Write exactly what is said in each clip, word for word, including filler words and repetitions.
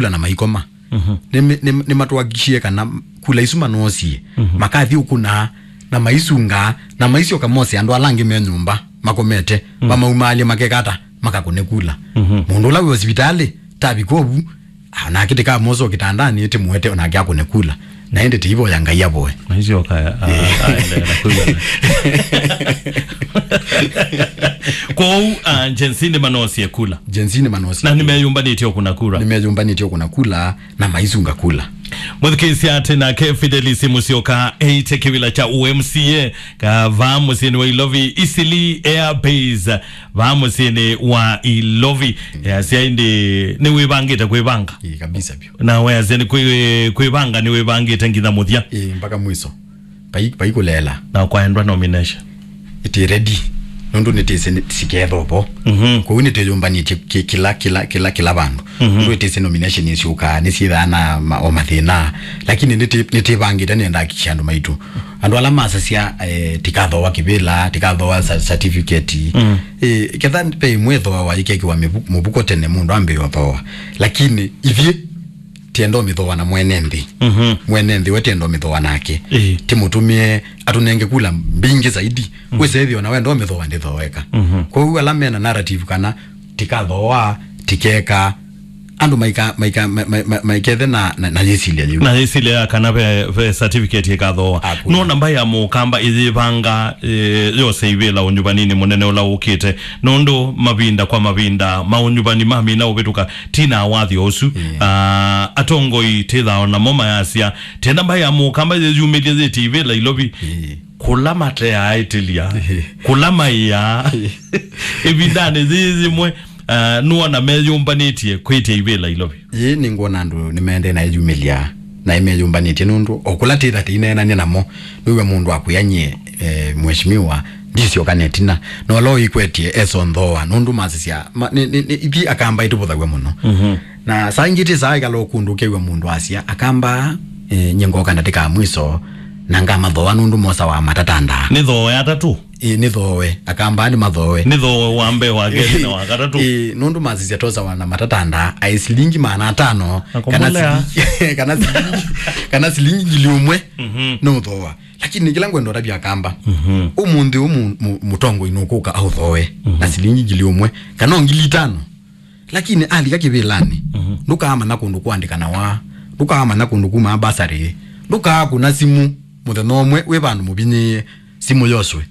kula na maikoma. Mhm. Nĩ, nĩ, nĩmatũhakikishie kana kula isu manoosie, mhm, makathi ũkũna na maisunga na maisyoka mose andũ ala angĩ me nyũmba makomete, mm, mamaumaalye makekata makakũne kula. Mhm. Mũndũ ũla wĩ osivitalĩ tavika ũvu, onake tĩkamosa kĩtandanĩ tĩmũete onake akũne kula. Na ĩndĩ tĩivoya Ngai avoe. Maisyoka a-, a-, aendeea na kwĩw'ana. Kwoou, ah, Gen Z nĩmanoosie kula. Gen Z nĩmanoosie. Na nĩmeyũmbanĩtye ũkũna kura. Nĩmeyũmbanĩtye ũkũna kula na maisunga kula. Mũthikĩĩsya atĩ nake Fidelis Musyoka eĩte kĩvĩla kya U M C A ka vaa mũsyĩnĩ wa Ilovi, Eastleigh Air Base, vaa mũsyĩnĩ wa Ilovi. Easya ĩndĩ nĩwĩvangĩte kwĩvanga? Ĩĩ, kabisa vyũ. Na weasya nĩ kwĩ-, kwĩvanga nĩwĩvangĩte nginya mũthya? Ĩĩ, mpaka mwiso. Vai, vai kũleela. Na kwaendwa nomination? Ĩtĩ ready. Nũndũ nĩtĩsĩ nĩ-, siketha ũvo. Mhm. Kwoou nĩtĩyũmbanĩtye kĩ-, kĩla, kĩla, kĩla, kĩla vandũ. Mhm. Nũndũ ĩtĩsĩ nomination nĩsyũkaa, nĩsyĩthaa na ma-, o mathĩna. Lakini nĩtĩ-, nĩtĩvangĩte nĩenda akikisha andũ maitũ. Andũ ala masasya, eh, tĩkathooa kĩvĩla, tĩkathooa cer-, certificate. Mm. Eh, ketha ve ĩmwe ĩthooawa ĩkekĩwa mĩvu-, mũvuko tene mũndũ ambĩĩa ũthooa. Lakini ithyĩ, tienda ũmĩthooa na mwene nthĩ. Mhm. Mwene nthĩ we tienda ũmĩthooa nake. Ĩĩ. Tĩmũtũmĩe atũnenge kula mbingĩ zaidi. Mhm. Wĩsethĩo na wenda ũmĩthooa ndĩthooeka. Mhm. Kwoou ala mena narrative kana tikathooa, tikeka, andũ maika-, maika-, ma-, ma-, ma-, maikethe na, na, na yĩsilya yĩu. Na yĩsilya ya kana ve, ve certificate ĩkathooa. Akuna. No namba ya mũkamba ĩyĩvanga, eh, yose ivĩla ũnyuvaninĩ mũnene ũla ũkĩte. Nũndũ mavinda kwa mavinda, maũnyuvani mamina ũvĩtũka, ti na wathi ũsu. Mm. Ah, atongoi tĩthao namo mayasya, tenda mbaĩ ya mũkamba yĩyumĩlye yĩtĩ ivĩla Ilovi. Mm. Kũla mateaaĩtĩlya, kũla maĩaa. Ĩvindanĩ yĩĩ yĩmwe, ah, nũona meyũmbanĩtye kwĩtya ivĩla Ilovi. Yĩĩ nĩngwona andũ nĩmaendee na ĩyumĩlya na ĩmeyũmbanĩtye nũndũ o kũla tĩtha tĩineenany'a namo, nĩw'a mũndũ akwĩa nyie, eh, mheshimiwa, ndisyoka netina. Na ũla ũikwetye esonthoa nũndũ masisya, ma-, nĩ, nĩ, nĩ, ithi akamba ĩtũvũthaw'a mũno. Mhm. Na saa ingĩ tĩ saa ĩkala ũkũndũ ũkew'a mũndũ asya, akamba, eh, nyie ngoka ndatĩka mwiso, na ngamathoa nũndũ mosawa matatandaa. Nĩ thooe atatũ? Ĩ, nĩ thooe. Akamba nĩ mathooe. Nĩ thooe wa mbee, wa kelĩ na wa katatũ. Ĩ, nũndũ masisya tosawa na matatandaa, aĩ silingi maana atano, kana silingi, kana silingi, kana silingi ngili ũmwe, mhm, nũthooa. Lakini kĩla ngwenda ũtavya akamba, mhm, ũmũnthĩ ũmũ mũ-, mũtongoi nũkũka aũthooe, mhm, na silingi ngili ũmwe, kana o ngili itano. Lakini alika kĩvĩlanĩ, mhm, ndũkaamanya kũndũ kũandĩkanawa, ndũkaamanya kũndũ kumaa basarĩ, ndũkaakũna simũ mũthenya ũmwe wĩ vandũ mũvinyĩĩe, simũ yoswe.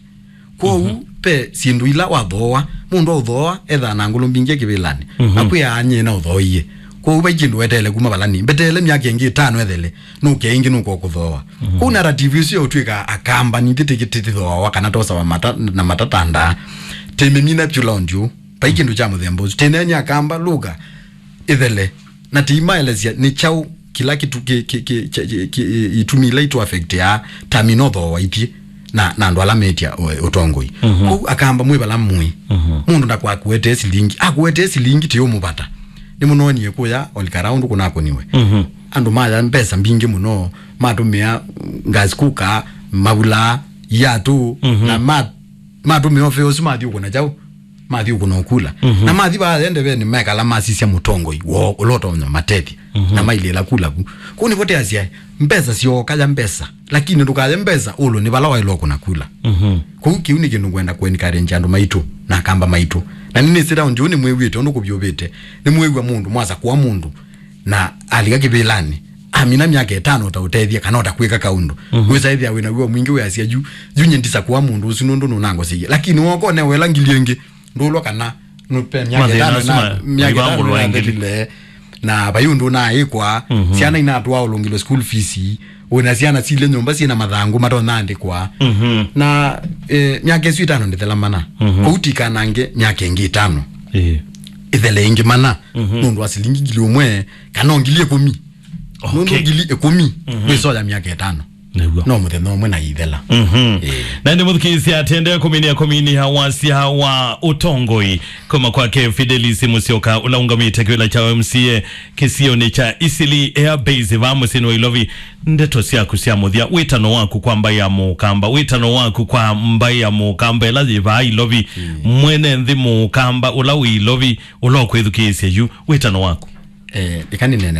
Kwoou, mhm, ve syĩndũ ila wathooa, mũndũ aũthooa ethaa na ngũlũ mbingĩ kĩvĩlanĩ, mhm, na kwĩaa nyie naũthooie. Kwoou vai kĩndũ weteele kuma valani, mbeteele myaka ĩngĩ ĩtano ethele, nũke ĩngĩ nũkokũthooa. Mhm. Kwoou narrative ĩsu ya ũtw'ĩka akamba nitĩ tĩkĩ tĩthooawa kana tosawa mata, na matatandaa, tĩmĩmina vyũ laundi ũũ. Vai kĩndũ kya mũthemba ũsu. Tĩneenye akamba lũka ĩthele, na tĩimaelesya nĩ kyaũ kĩla kĩtu-, kĩ-, kĩ-, kĩ-, kya-, kĩ-, kĩ-, itumi ila itũ affectĩaa ta minotho wa ithyĩ na, na andũ ala metya ũ-, ũtongoi. Mhm. Kwoou akamba mwĩ vala mũĩ. Mhm. Mũndũ ndakwakuetee silingi. Akuetee silingi tĩ ũmũvata. Nĩmũnonie kũya Olikaraa ũndũ kũnakũniwe. Mhm. Andũ maya mbesa mbingĩ mũno, matũmĩa gas cooker, mavulaa, iatũ, mhm, na ma-, matũmĩa ũvea ũsu mathi ũkũna kyaũ. Mathi ũkũna ũkula. Mhm. Na mathi vaa ndeveni mekala masisya mũtongoi woo ũla ũtonya matethya. Mhm. Na mailĩla kula vu. Kũu nĩvo teasya mbesa syooka ya mbesa. Lakini ndũkaye mbesa ũlũ nĩ vala waĩlwa ũkũna kula. Mhm. Kũu kĩu nĩ kĩndũ ngwenda kũencourage andũ maitũ na akamba maitũ. Na nĩnĩsĩ raundi ũũ nĩmwĩw'ĩte ũndũ kũvyũvĩte. Nĩmwĩw'a mũndũ mwasakũa mũndũ na alika kĩvĩlanĩ, amina myaka ĩtano ũtaũtethya kana ũtakwĩka kaũndũ. Mhm. Wĩsa ĩthĩa wĩna wĩo mwingĩ wĩasya yu, yu nyie ndisakũa mũndũ ũsu nũndũ nũnangoseiye. Lakini wooka ũnewa ĩla ngili ĩngĩ, ndũlwa kana nũpe myaka mathĩna ĩtano asu na ma-, myaka ĩtano maivangũlwa ĩngĩ. Ĩnathelile, na vai ũndũ ũnaaĩkwa, mhm, syana inatũa ũlũngĩlwe school fees, wĩna syana silĩ nyũmba syĩna mathangũ matonyaandĩkwa. Mhm. Na, eh, myaka ĩsu ĩtano ndĩthela mana. Mhm. Kũu tikanange myaka ĩngĩ ĩtano. Ĩĩ. Ĩthele ĩngĩ mana. Mhm. Nũndũ wa silingi ngili ũmwe, kana o ngili ĩkũmi. Okay. Nũndũ ngili ĩkũmi, mhm, wĩsoya myaka ĩtano. Nĩw'o. No mũthenya ũmwe na ithela. Mhm. Ĩĩ. Na ĩndĩ mũthikĩĩsya atendee kũminia kũminia wasya wa ũtongoi kuma kwake Fidelis Musyoka, ũla ũngamĩte kĩvĩla kya M C A kĩsionĩ kya Eastleigh Air Base vaa mũsyĩnĩ wa Ilovi. Ndeto syaku sya mũthya, wĩtano waku kwa mbaĩ ya Mũkamba, wĩtano waku kwa mbaĩ ya Mũkamba ĩla yĩ vaa Ilovi, mm, mwene nthĩ Mũkamba ũla wĩ Ilovi, ũla ũkwĩthukĩĩsya yu, wĩtano waku? Eh, ĩka nĩneene